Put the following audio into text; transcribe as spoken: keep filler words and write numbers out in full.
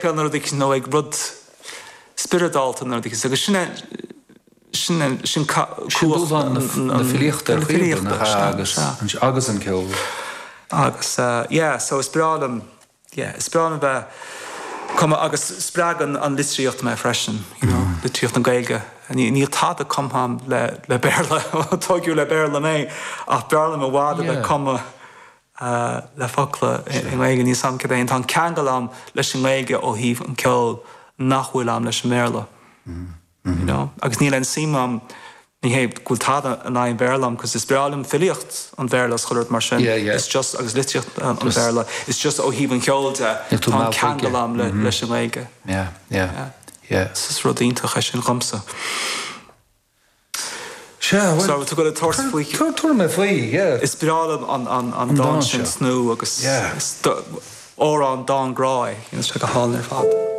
Nó rud nó ag rud spioradálta nó rud agus sin sin sin cumhacht na filíochta agus agus an ceol. Agus uh, yeah, so is breá liom yeah, is breá liom bheith cumadh agus spreagann an litríocht mé freisin, you know, mm. litríocht na Gaeilge. Níl tada cumtha agam le le Béarla tógadh le Béarla mé ach b'fhearr liom i bhfad a bheith cumadh uh, le focla i nGaeilge níos am cad é tá ceangal agam leis an nGaeilge ó thaobh an ceol nach bhfuil agam leis an mBéarla. Mm. You know? Agus níl aon suim agam ní hé go bhfuil tada in aghaidh an Bhéarla agam, cos is breá liom filíocht an Bhéarla is chuile rud mar sin. Yeah, yeah. It's just agus litríocht an Bhéarla it's just ó thaobh an cheoil de tú tá meallta ceangal aige. agam le leis an nGaeilge. Yeah, yeah, yeah. Is rud iontach é sin dhomsa. Sea, well, So tú go tabhairt faoi Tabharfaidh mé faoi, yeah. Is breá liom an an an An dán dán sin seo. snú agus Yeah. is amhrán dán grá é, you know, sé go hálainn ar fad.